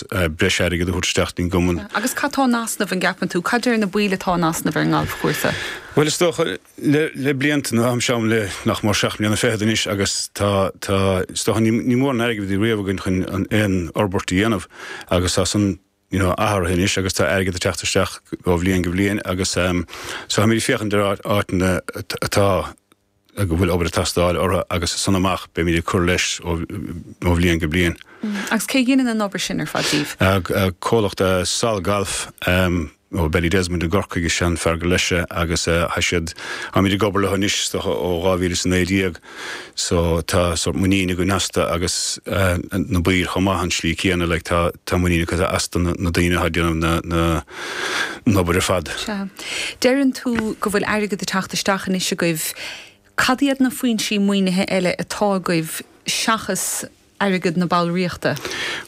agus breis airgid a thabhairt isteach don gcumann. Agus cad tá in easnamh, an gceapann tú? Cad deir na baill atá in easnamh ar an ngalfchúrsa? Bhuel, is dócha, le blianta, nó táimse ann le nach mór seacht mbliana fichead anois agus tá, tá, is dócha, ní, ní mór an airgead a bhí riamh againn chun an, aon fhorbairt a dhéanamh agus tá san, you know, athraithe anois agus tá airgead ag teacht isteach ó bhliain go bliain agus ehm, so táimid ag féachaint ar áit, áiteanna atá, go bhfuil obair ag teastáil orthu agus as san amach beimid ag cur leis ó, ó bhliain go bliain. Agus cé a dhéanann an obair sin ar fad daoibh? Comhlacht Sol Golf ó Ballydesmond i gCorcaigh is ea an fear gur leis é agus tá siad, táimid ag obair leo anois is dócha ó 2019 so tá sórt muinín againn astu agus na baill chomh maith an slí céanna like tá tá muinín acu astu na daoine atá ag déanamh na na an obair ar fad. Sea. Deireann tú go bhfuil airgead ag teacht isteach anois agaibh. Cad iad na foinsí maoinithe eile atá agaibh seachas airgead na ballraíochta?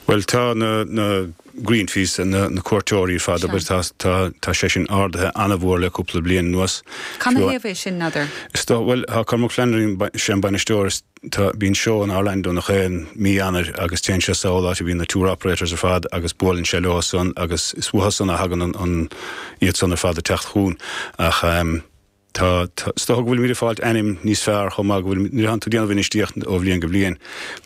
Bhuel, tá na, na green fees, na, na cuairteoirí ar fad, abair, tá, tá, tá sé sin ardaithe an-mhór le cúpla bliain anuas. Canathaobh é sin, n'fheadar? Is dócha, bhuel, tá Cormac Flannery, sé an bainisteoir, is tá, bíonn seó in Orlando nach aon mí Eanáir agus téann sé sall áit a bhíonn na tour operators ar fad agus buaileann sé leo san agus is uathu san a thagann an, an, iad san ar fad ag teacht chugainn. Ach, Tá, tá, is dócha go bhfuilimid ag fáilt ainm níos fearr chomh maith, go bhfuil, nuair atánn tú ag déanamh infheistíocht ó bhliain go bliain,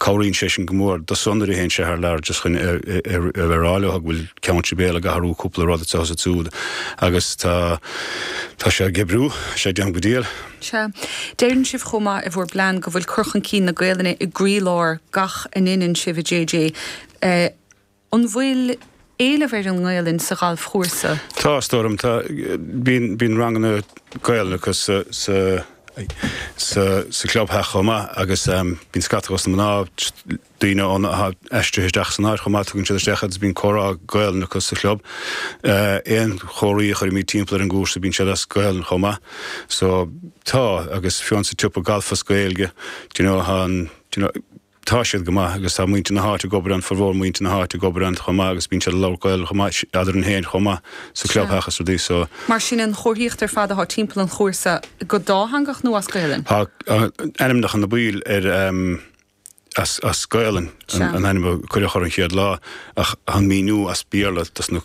cabhraíonn sé sin go mór do san nuair a théann sé thar lear just chun a bheith ag rá leo go bhfuil Ceann Sibéal ag athrú cúpla rud anseo is ansiúd agus tá, tá sé ag oibriú, sé ag déanamh go diail. Sea. Deireann sibh chomh maith i bhur bplean go bhfuil cur chun cinn na Gaelainne i gcroílár gach a ndeineann sibh a JJ. An bhfuil éileamh ar an nGaelainn sa ghalfchúrsa? Tá, is dóigh liom. Tá, bíonn, bíonn ranganna Gaelainne acu sa, sa, sa, sa chlubtheach chomh maith agus bíonn scata dos na mná, daoine ón, atá aistrithe isteach san áit chomh maith, tugann siad isteach agus bíonn comhrá Gaelainne acu sa chlub. Aon chomharthaí a chuirimid timpeall ar an gcúrsa bíonn siad as Gaelainn chomh maith. So, tá, agus fiú an sa tsiopa galf as Gaeilge, do you know, tá an, do you know, Tá siad go maith agus tá muintir na háite ag obair ann, formhór muintir na háite ag obair ann chomh maith agus bíonn siad ag labhairt Gaeilge chomh maith eadrainn féin chomh maith sa chlubtheach is rudaí so. Mar sin an chomharthaíocht ar fad atá timpeall an chúrsa go dátheangach nó as Gaelainn? Tá ainmneacha na baill ar as as Gaelainn an ainm a cuireadh orthu an chéad lá ach tá an míniú as Béarla dos na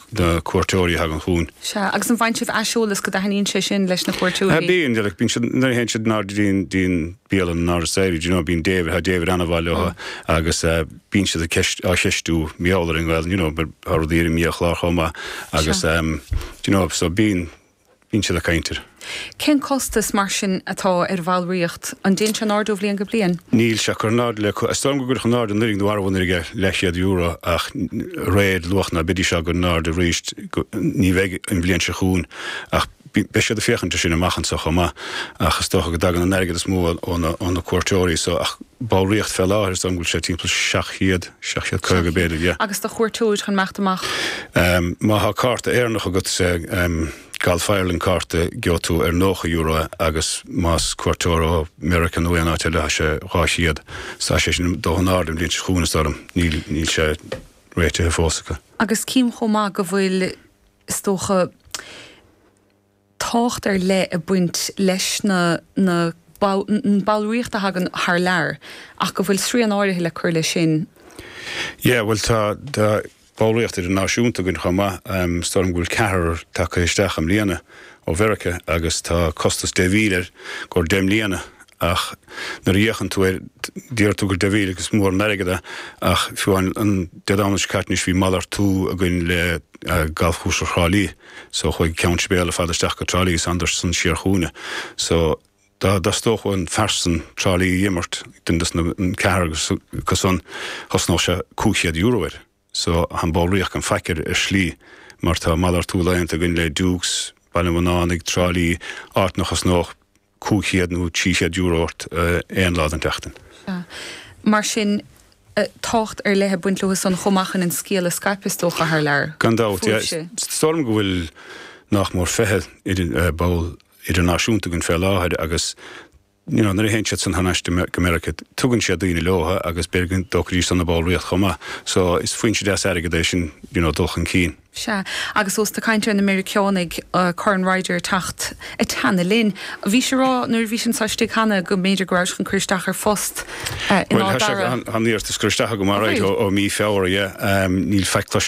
cuairteoirí a thagann chugainn. Sea, agus an bhfaigheann sibh aiseolas go dtaitníonn sé sin leis na cuairteoirí? Bíonn, bíonn siad, nuair a théann siad in airde dtí an bialann in Áras Éirí, do you know, bíonn David, tá David an-mhaith leo agus bíonn siad ag ceist, á cheistiú mar gheall ar an nGaelainn, you know, tá rudaí ar an mbiachlár chomh maith agus do you know, so bíonn, bíonn siad ag caint air. Cén costas, mar sin, atá ar bhallraíocht? An dtéann sé in airde ó bhliain go bliain? Níl sé curtha in airde le, is dóigh liom gur cuireadh in airde anuraidh nó arú anuraidh leathchéad euro ach réir luach ná beidís á gcur in airde arís, ní bheidh an bhliain seo chugainn ach beidh siad ag féachaint air sin amach anseo chomh maith ach is dócha go dtagann an airgead is mó ó na cuairteoirí so ach ballraíocht fé láthair is dóigh liom go bhfuil sé timpeall 700, 750 b'fhéidir, yeah. Agus do chuairteoir chun imeacht amach? Má tá cárta Éireannach agat, Golf Ireland cárta, gheobhaidh tú ar €90 é agus más cuairteoir ó Meiriceá nó aon áit eile tá sé 200. So tá sé sin ag dul in airde an bhliain seo chugainn is dóigh liom. Níl, níl sé réitithe fós acu. Agus cím chomh maith go bhfuil, is dócha, tábhacht ar leith ag baint leis na na an ballraíocht a thagann thar lear ach go bhfuil srian áirithe le cur leis sin. Yeah, bhuel tá tá ballraíocht idirnáisiúnta againn chomh maith. Is dóigh liom go bhfuil ceathrar tagtha isteach i mbliana ó Mheiriceá agus tá costas 10,000 air go 10 mbliana ach nuair a fhéachann tú air deir tú gur 10,000 agus mór an airgead é ach fiú amháin an Dé Domhnaigh seo caite anois bhí malartú againn le galfchúrsa Thrá Lí so chuaigh Ceann Sibéal ar fad isteach go Trá Lí is thánadar san siar chugainne so dá dtosódh an fear san Trá Lí a imirt duine dos na an ceathrar acu san chosnódh sé €500 air so tá an ballraíocht gan faic air ar shlí mar tá malartú laethanta againn le Dukes, Baile an Bhunánaigh, Trá Lí, áit nach chosnódh €500 nó €300 ort aon lá den tseachtain. Sea. Mar sin, tábhacht ar leith ag baint leo san chomh maith chun an scéal a scaipeadh is dócha thar lear. Gan dabht, yeah. Is dóigh liom go bhfuil nach mór 20 ball idirnáisiúnta againn fé láthair agus you know nuair a théann siad san thar n-ais go Meiriceá tugann siad daoine leo agus b'fhéidir go dtógfaidís san a ballraíocht chomh maith. So is foinse deas airgid é sin you know dul chun cinn. Sea, agus ós tú ag caint ar na Meiriceánaigh, Corn Ryder ag teacht ag teannadh linn. Bhís ag rá nuair a bhís anseo istigh cheana go mb'fhéidir go rabhais chun cur isteach ar phost in Bhuel, Áth tá sé, Dara. tá an iarratas curtha isteach agam alright ó mí Feabhra, yeah. Níl faic cloiste.